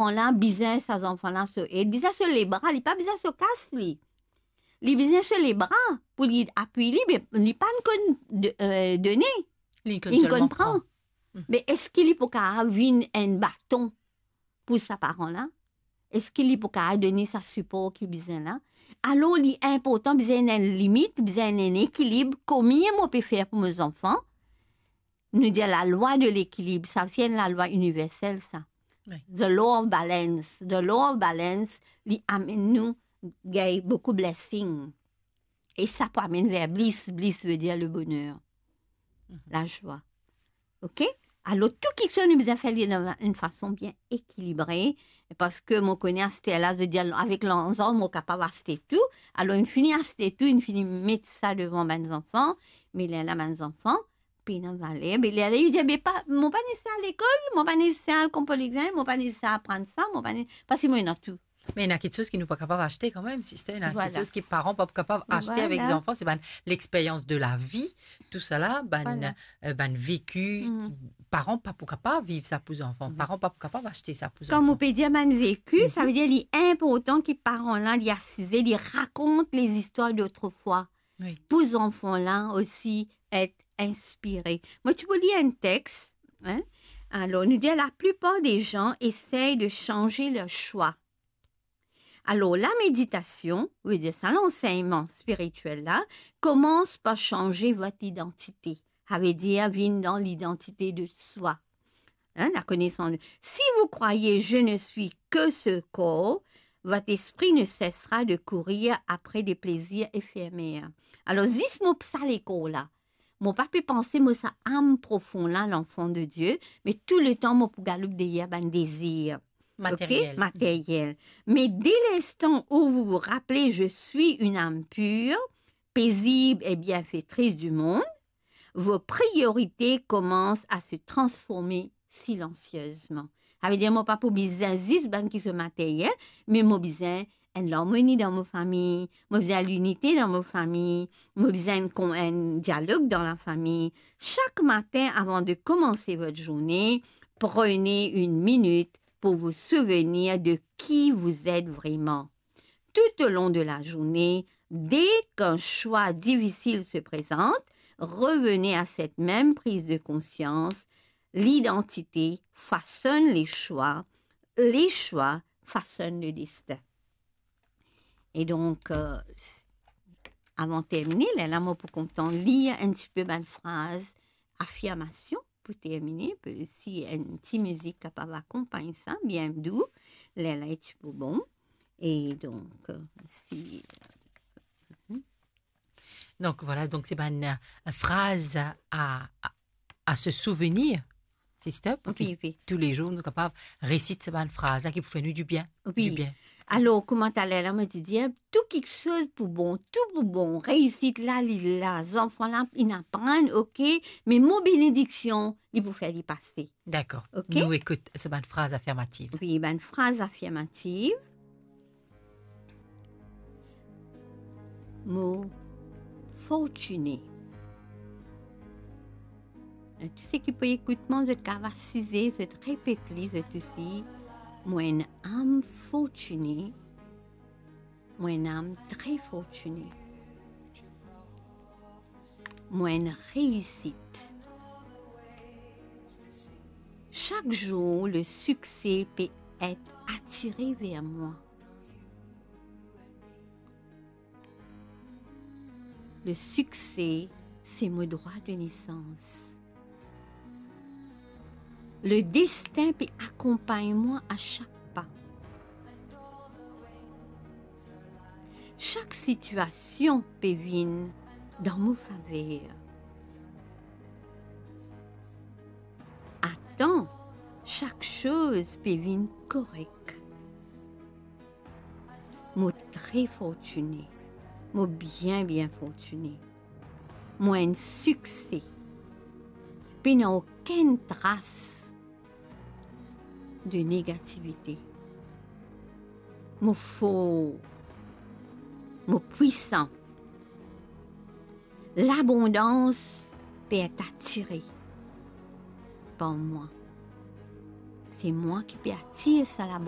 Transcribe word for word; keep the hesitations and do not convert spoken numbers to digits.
Zanfan la bizin, sa zanfan la so ed, bizin so lebra, li pa bizin so kas li. Li bizin so lebra pou li apui li, me li pa'nn konn de-, eh, done. Li konn selman pran. Mhm. Me eski li pou kapav vinn enn baton pou sa paran la? Eski li pou kapav done sa sipor ki bizin la? Alor, li inportan, bizin enn limit, bizin enn ekilib. Kouma mo pe fer pou mo zanfan? Nou dir lalwa de lekilib, sa osi enn lalwa iniversel, sa. Wi. The law of balance. The law of balance, li amenn nou gagn boukou blessing. E sa pou amenn ver bliss. Bliss vedir le boner, mhm, lazwa. Ok? Alor, tou kiksoz nou bizin fer li dan enn fason bien ekilibre, parski mo kone aster la, zot dir, avek larzan, mo kapav aste tou. Alor, inn fini aste tou, inn fini met sa devan bann zanfan, me lerla bann zanfan pena valer. Me lerla li dir, "Me pa, mo pa neseser al lekol, mo pa neseser al konpran lexamen, mo pa neseser aprann sa, mo pa ne-, parski mo ena tou." Me ena kiksoz ki nou pa kapav aste kanmem, sister. Ena, voilà, kiksoz ki paran pa kapav aste avek, voilà, zanfan, se bann lexperyans de lavi, tousala, bann, voilà, eh, bann veki, mhm, paran pa pou kapav viv sa pou zanfan, mhm, paran pa pou kapav aste sa pou zanfan. Kan mo pe dir bann veki, mhm, sa vedir li inportan ki paran la, li asize, li rakont lezistwar dotrefois. Wi. Pou zanfan la osi et inspire. Mo ti pou lir enn text, hein? Alor, nou dir, la plupart des gens essayent de changer leur choix. Alor, la méditation, vedir sa lansegnman spiritiel la, commence par changer votre identité. Sa vedir vinn dan lidantite de swa. Hein, la connaissance de... Si vous croyez, "Je ne suis que ce corps", votre esprit ne cessera de courir après des plaisirs éphémères. Alor, zis mo sa lekor la, mo pa pe panse mo sa am profon la, l'enfant de Dieu, me tou letan mo pou galoup deryer bann dezir, ok? Materiel. Materiel. Mais dès l'instant où vous vous rappelez, "Je suis une âme pure, paisible et bienfaitrice du monde", vos priorités commencent à se transformer silencieusement. Sa vedir mo pa pou bizin zis bann kiksoz materyel, me mo bizin enn larmoni dan mo fami, mo bizin linite dan mo fami, mo bizin enn kon-, enn dialog dan lafami. Chaque matin, avant de commencer votre journée, prenez une minute pour vous souvenir de qui vous êtes vraiment. Tout au long de la journée, dès qu'un choix difficile se présente, revenez à cette même prise de conscience. L'identité façonne les choix, les choix façonnent le destin. E donk, euh, avan termine, lerla mo pou kontan lir enn tipe bann fraz afirmasion pou termine, pe si enn ti mizik kapav akonpagn sa, bien dou, lerla li ti pou bon. E donk, euh, si, euh, mhm. Donk, voilà, donk se bann, euh, fraz a, a, a se souvenir, sister, pou ki, wi, wi, toulezour nou kapav resit sa bann fraz la ki pou fer nou dibien, wi, dibien. Alor, kouma taler la mo ti dir, tou kiksoz pou bon, tou pou bon, reisit la, li la, zanfan la, inn aprann, ok, me mo benediksion, li pou fer li pase. Dakor. Ok? Nou ekout sa bann fraz afirmativ. Wi, bann fraz afirmativ. Mo fortine. Tou seki pou ekout mwa, zot kapav asize, zot repet li, zot osi. Mo enn am fortine. Mo enn am tre fortine. Mo enn reisit. Chaque jour, le succès peut être attiré vers moi. Le succès, c'est mon droit de naissance. Le destin peut accompagner moi à chaque pas. Chaque situation peut venir dans mon faveur. Attends, chaque chose peut venir correct. Mo tre fortine. Mo bien, bien fortine. Mo enn sikse. Pena okenn tras de negativite. Mo for. Mo pwisan. Labondans pe et atire par mwa. Se mwa ki pe atir sa labondans.